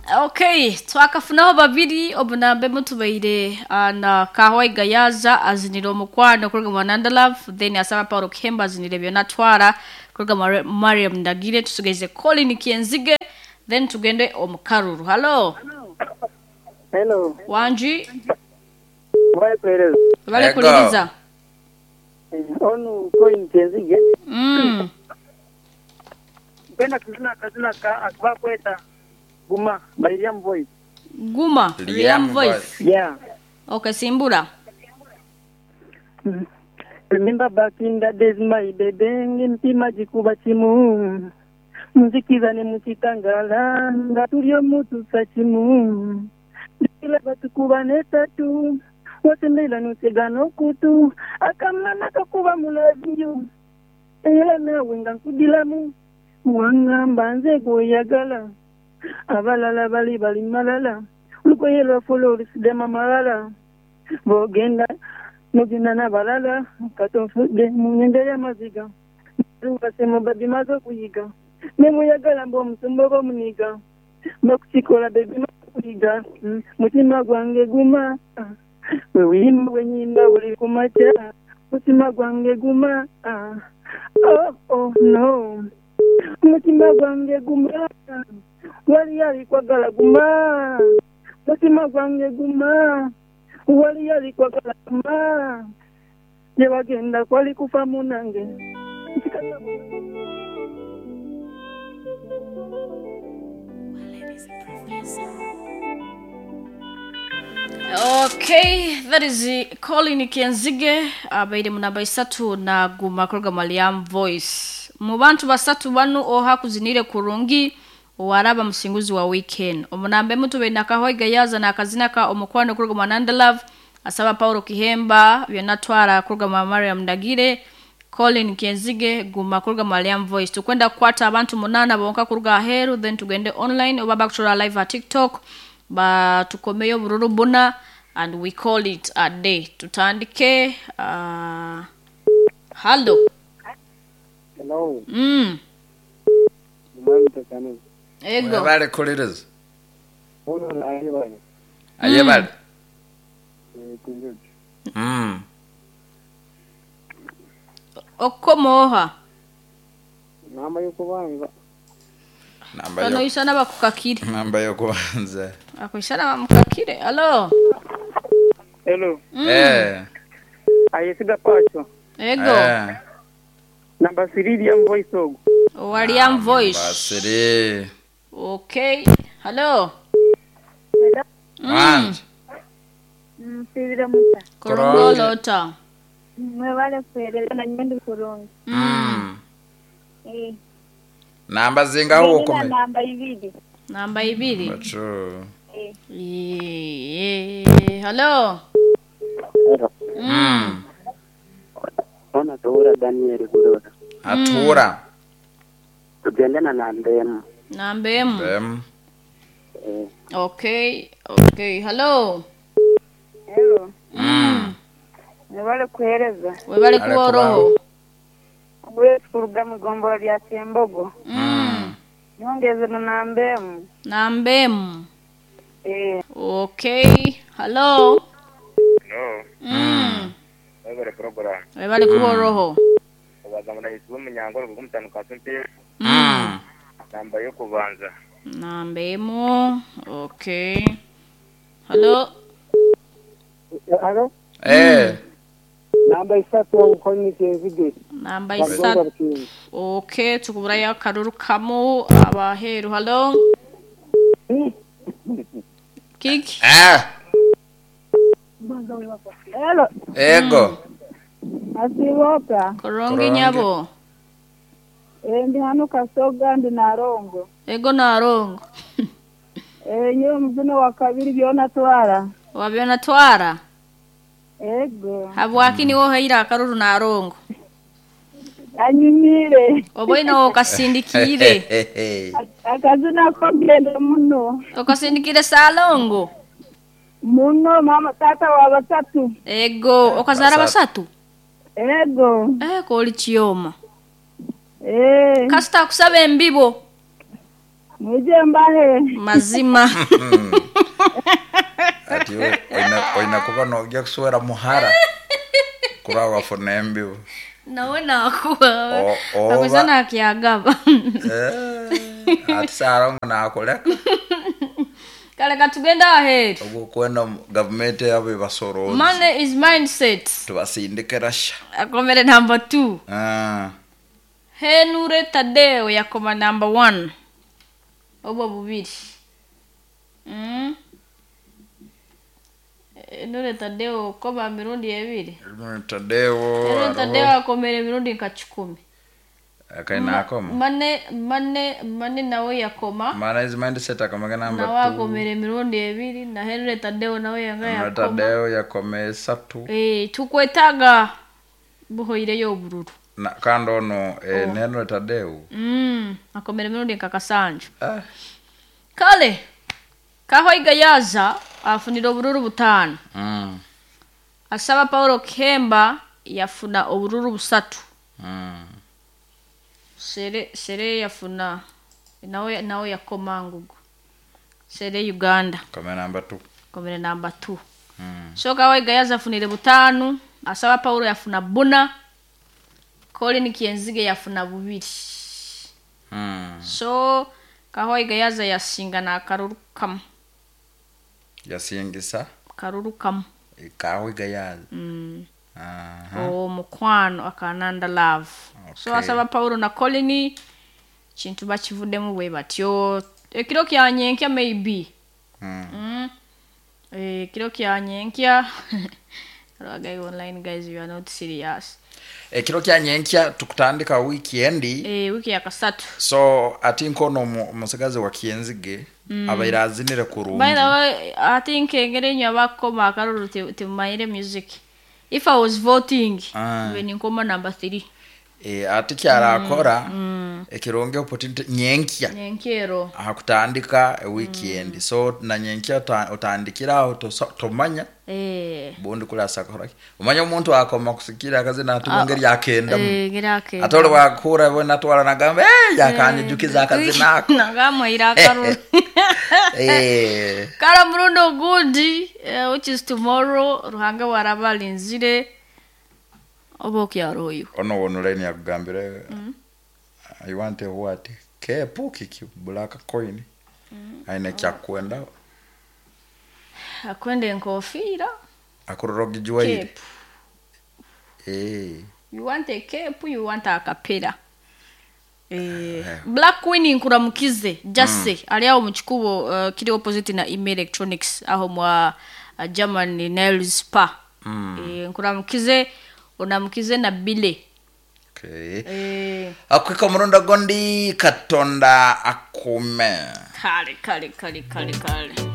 Okay, twakafunaho babiri obunambe mutubaire na Kahwaiga yaza azinire omukwano kuruga mu Nanda Love, then asaba Paulo Kihemba azinire byona twara kuruga mu Mariam Ndagire. Tusigaize Colin Kyenzige, then tugende omu Karuru. Hello. Hello. Wangi. Mwebale kuhereza. Webale Ego. kuliriza. Onu Colin Kyenzige. Nkwenda kuzina akazina ka akubakweta Guma by Liam Voice. Guma Liam Liam Voice. Voice. Yeah. Okay, simbura. Remember back in the days my baby, ngempima gikuba kimu. Muzikiza ne mukitangala nga tuli omutusa kimu. Ndila batukuba n'esatu. Wasembeera n'otega n'okutu. Akamana kakuba mulabiyo. Era naawe nga nkudilamu. Wangamba nze gw'oyagala. Abalala bali bali malala. Olugoye lwaffe olusidema malala. Bw'ogenda n'ogenda n'abalala. Katonfudde mu nnyanja y'amaziga. Basemo babimaze okuyiga. Ne muyagala mbu omusumba oba omuniga. Bakukikola bebimaze okuyiga. Mutima gwange guma. Bwe wiyimba bwe nnyimba buli ku makya. Mutima gwange guma. Oh, oh, no. Mutima gwange guma. Waliyo alikwagala guma. Mutima gwange guma. Waliyo alikwagala guma. Gye bagenda kwali kufa munange. Okay, that is Colin Kenzige abaire mu namba isatu na guma kuruga mu Liam Voice. Mu bantu basatu banu oha kuzinire kurungi waraba musinguzi wa weekend. Omunambe mutube na Kahwaiga yaza na akazina ka omukwano kuruga mu Nanda Love, asaba Paulo Kihemba byonna twara kuruga mu Mariam Ndagire, Colin Kenzige guma kuruga mu Liam Voice. Tukwenda kukwata abantu munana bonka kuruga aheru, then tugende online oba bakutura live at TikTok ba tukomeyo bururu buna and we call it a day. Tutandike hallo. Hello. Mwami Tekano. Ego. Webale kuliriza. Ono ayebale. Ayebale. Kunjojo. Okomoha. Namba y'okubanza. Namba Bano yo. isana bakukakire. Namba y'okubanza. Akwishana bamukakire. Hello. Hello. Eh. Ayesiga pacho. Ego. Eh. Namba 3 Liam Voice ogo. Wa Liam Voice. Basiri. Okay. Hello. Wangi. Nsibire muta. Korongolota. Mwebale kuhereza na nyendi kurungi. Eh. Namba zingaho Nina ukome. namba ibiri. Namba ibiri. Bachu. Eh. Hello. Ona Tura Daniel Gurora. Atura. Tugende na namba emu. Namba emu. Em. Okay. Okay. Hello. Hello. Mwebale kuhereza. Webale Ale kuba oroho. Wetu kuruga mu igombora lya Kyembogo. Nyongeze na namba emu. Namba emu. Eh. Okay. Hello. No, webale program. Webale kuba oroho. Obaza murahisi w'umunyangoro gumutano ka simpe. Namba yo kubanza. Namba emu. Okay. Hello. Hello. Eh. Namba isatu Colin Kyenzige. Namba Bagomba isatu. Bukingi. Okay, tukuburayo akaruru kamu abaheru. Hello. Kiki. Eh. Hello. Ego. Asiboka. Korongi Korongi. nyabo. Eh, ndi hano Kasoga ndi Narongo. Ego narongo. Eh, nyewe muzino wa kabiri byona twara. Wabyona twara. Ego. Habwaki niwo haira akaruru narongo. Anyumire. Oboina okasindikire. Akazina ko genda muno. Okasindikire salongo. Muno mama tata wa basatu. Ego okazara Basatu. basatu. Ego. Eh koli chiyoma. Eh. Kasita kusaba embibo. Mwije mbahe. Mazima. Ati oina kuba nojja kuswera muhara kura wafuna embibo. Nawe nakuwa. Oba- Akweza nakyagaba. Eh, ati sarongo nakuleka. Kale katugenda ahead. Ogwo kwenda gavumenti yabo ebasorozi. Money is mindset. Tubasindike rasha. Akomere number 2. Ah. Henure Tadeo yakoma number 1. Obwo bubiri. Henure Tadeo koma mirundi ebiri. Henry Tadeo. Henure Tadeo akomere emirundi nka 10. Akaina akoma. Mane nawe yakoma. Mana is mindset akomega number Nawe 2. akomere emirundi ebiri na Henry Tadeo nawe yanga Henry yakoma. Tadeo yakoma esatu. Tukwetaaga buhoireyo obururu. Na kandi ono Henry Tadeo. Akomere emirundi nka kasanju. Ah. Kale Kahoiga yaza afunira obururu 5. Asaba Paulo Kemba yafuna obururu 3. Sere yafuna nawe yakoma ngugu. Sere Uganda. Kome number 2. Komere number 2. So Kahoiga yaza afunire 5, Asaba Paulo yafuna 4. Colin Kienzige yafuna 2. So Kahoiga yaza yasinga na akaruru kamu. Yasingisa Karuru kamu. Kahoiga yaza. Omukwano akananda love. So Okay. Asaba Paulo na Colin kintu bakivuddemu bwe batyo. Ekiro kya nyenkya maybe. Ekiro kya nyenkya. Guys, online guys, you are not serious. Ekiro kya nyenkya tukutandika weekend. Wiki ya kasatu. So ati nkono musigazi wa Kienzige abaire azinire kurungi. By the way, I think engeri enyo abakoma akaruru temumayire music. If I was voting, when nkoma number 3. Ati kyarakora ekirungi opportunity nyenkya. Nyenkero. Hakutandika weekend. So na nyenkya utandikira aho tomanya. Bundi kulasa kora. Umanya omuntu akoma kusikira akazina atubongeri yakenda. Ngeri akenda. Atole wakura bona twala nagamba yakanyijukiza akazina ako. Nagamwira akaruru. Kala murundo gundi, which is tomorrow, Ruhanga warabalinzire oba okyaroyo. Ono wono line yakugambire. I want a what? Kepu kiki black coin. Aine kyakwenda. Akwenda enkofiira. Akuroroga juwaire. Cape. You want a cape, you want a kapera. Black Queen nkuramukize Jase ali awo mu kikubo kiri opposite na Email Electronics aho mwa German Nails Spa. Nkuramukize onamukize na Bile. Okay. Akwika murundo gondi Katonda akume. Kale kale kale kale kale.